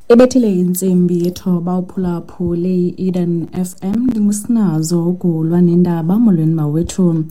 Ebethile intsimbi yethoba uphulaphule i-Eden FM. Ndingusinazo ugulwa nendaba. Molweni mawethu.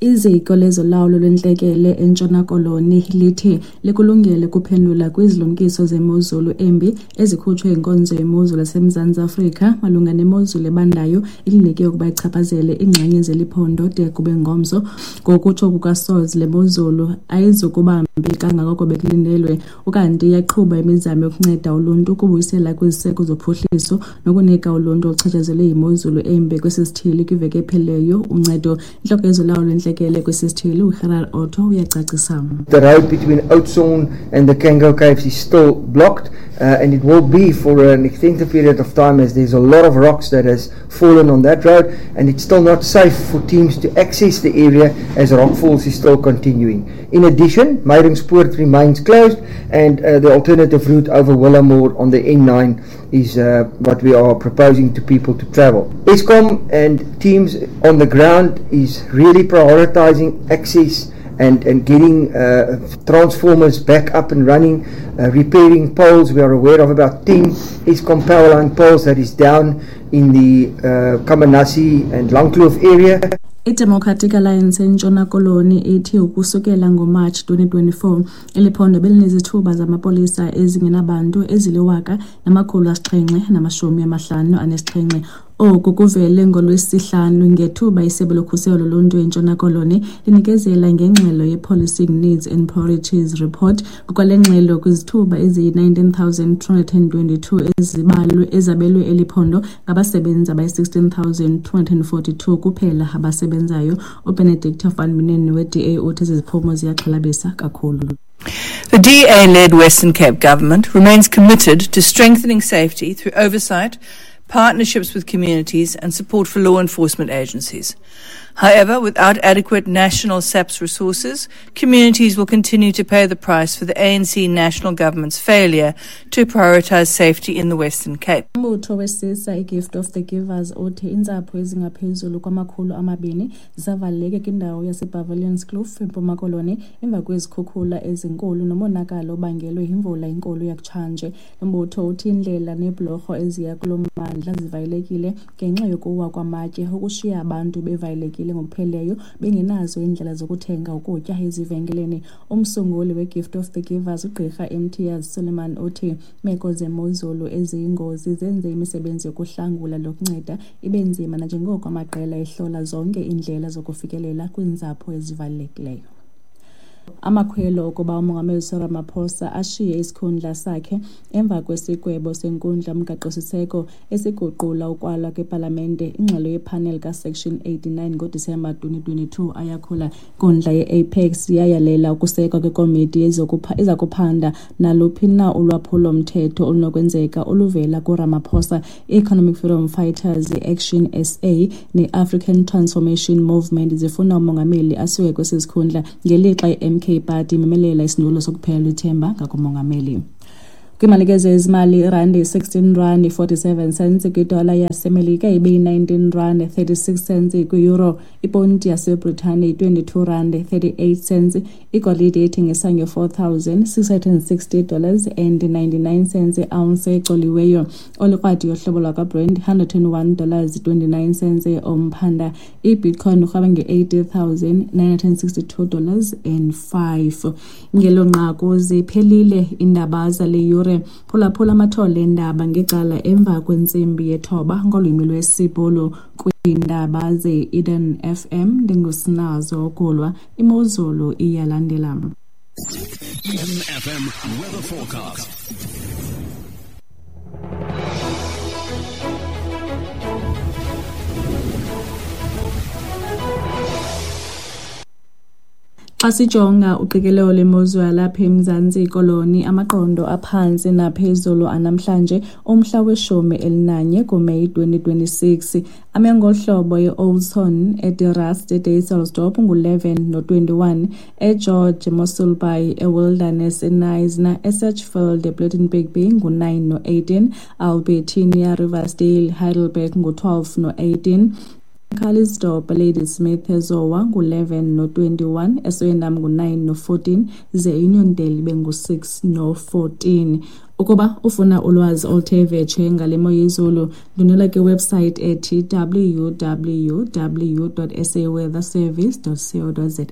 Iziko lezolawulo lwentlekele eNtshona Koloni lithi likulungele ukuphendula kwizilumkiso zemozulu embi ezikhutshwe yinkonzo yemozulu yaseMzantsi Afrika malunga nemozulu ebandayo ilindeleke ukuba ichaphazele iingxenye zeli phondo de kube ngomso. Ngokutsho kukaSoz, le mozulu ayizukuba mbi kangako bekulindelwe. Ukanti iyaqhuba imizamo yokunceda uluntu ukubuyisela kwiziseko zophuhliso nokunika uluntu oluchatshazelwe yimozulu embi kwesi sithili kwiveki ephelileyo uncedo. Intloko yezolawulo lwentlekele kwesi sithili uGerard Otto uyacacisa. The road between Oudtshoorn and the Cango Caves is still blocked, and it will be for an extended period of time, as there's a lot of rocks that has fallen on that road, and it's still not safe for teams to access the area as rockfalls is still continuing. In addition, Meiringspoort remains closed, and the alternative route over Willowmore on the N9 is what we are proposing to people to travel. Eskom and teams on the ground is really prioritizing access and getting transformers back up and running, repairing poles. We are aware of about 10 Eskom power line poles that is down in the Kamanasi and Langkloof area. IDemocratic Alliance eNtshona Koloni ithi ukusukela ngoMatshi 2024 eli phondo belinezithuba zamapolisa ezingenabantu ezili-1757. Oku kuvele ngoLwesihlanu ngethuba iSebe loKhuselo loLuntu eNtshona Koloni linikezela ngengxelo ye-Policing Needs and Priorities Report. Ngokwale ngxelo, kwizithuba eziyi-19,222 ezibalwe ezabelwe eli phondo, ngabasebenzi abayi-16,242 kuphela abasebenzayo. UBenedicta van Minnen we-DA uthi ezi ziphumo ziyaxhalabisa kakhulu. The DA-led Western Cape government remains committed to strengthening safety through oversight, partnerships with communities and support for law enforcement agencies. However, without adequate national SAPS resources, communities will continue to pay the price for the ANC national government's failure to prioritize safety in the Western Cape. Umbutho wesisa iGift of the Givers uthi iintsapho ezingaphezulu kwama-200 zisavaleleke kwindawo yasePavilionskloof eMpuma Koloni emva kwezikhukhula ezinkulu nomonakalo obangelwe yimvula enkulu yakutshanje. Lo mbutho uthi iindlela neebhlorho eziya kulo mmandla zivalelekile ngenxa yokuwa kwamatye, okushiya abantu bevalelekile ngokupheleleyo bengenazo iindlela zokuthenga ukutya ezivenkileni. Umsunguli weGift of the Givers uGqirha Imtiaz Sooliman uthi iimeko zemozulu eziyingozi zenze imisebenzi yokuhlangula nokunceda ibe nzima nanjengoko amaqela ehlola zonke iindlela zokufikelela kwiintsapho ezivalelekileyo. Amakhwelo okuba uMongameli Cyril Ramaphosa ashiye isikhundla sakhe emva kwesigwebo senkundla yomgaqo-siseko esiguqula ukwalwa kwepalamente ingxelo yephaneli kaSection 89 ngoDisemba 2022 ayakhula. Inkundla ye-Apex yayalela ukusekwa kwekomiti ezakuphanda naluphi na ulwaphulo-mthetho olunokwenzeka oluvela kuRamaphosa. I-Economic Freedom Fighters, i-Action SA ne-African Transformation Movement zifuna umongameli asuke kwesi sikhundla, ngelixa i-MK Party imemelela isindululo sokuphelelwa ithemba ngakumongameli. Kwimalike zezimali, irandi yi-16 rand 47 cents kwidola yaseMelika, ibeyi-19 rand 36 cents kwi-euro, iponti yaseBritane yi-22 rand 38 cents, igolide ithengisa nge-$4,660 and 99 cents i-ounce ecoliweyo, olikrwadi yohlobo lwakwaBrent $101 29 cents umphanda, iBitcoin irhweba nge-$80,962 and 5. Ngelo nqaku ziphelile iindaba zale yure. Phulaphula amathole eendaba ngecala emva kwentsimbi yethoba ngolwimi lwesiBhulu kwiindaba ze-Eden FM. Ndingusinazo Gulwa. Imozulu iyalandela. Eden FM weather forecast. Xa sijonga uqikelelo lwemozulu yalapha eMzantsi Koloni, amaqondo aphantsi naphezulu anamhlanje umhla we-11 kuMeyi 2026 ame ngohlobo: e-Oudtshoorn, eDe Rust, eDysselsdorp ngu-11 no-21, eGeorge, eMossel Bay, eWilderness, eKnysna, eSedgefield, ePlettenberg Bay ngu-9 no-18, Albertinia, Riversdale, Heidelberg ngu-12 no-18. Calitzdorp, Ladysmith, eZowa ngu-11 no-21, eSwellendam ngu-9 no-14, ze Uniondale ibe ngu-6 no-14. Ukuba ufuna ulwazi oluthe vetshe ngale mo yezulu, ndwendwela kwiwebsite ethi www.saweatherservice.co.za.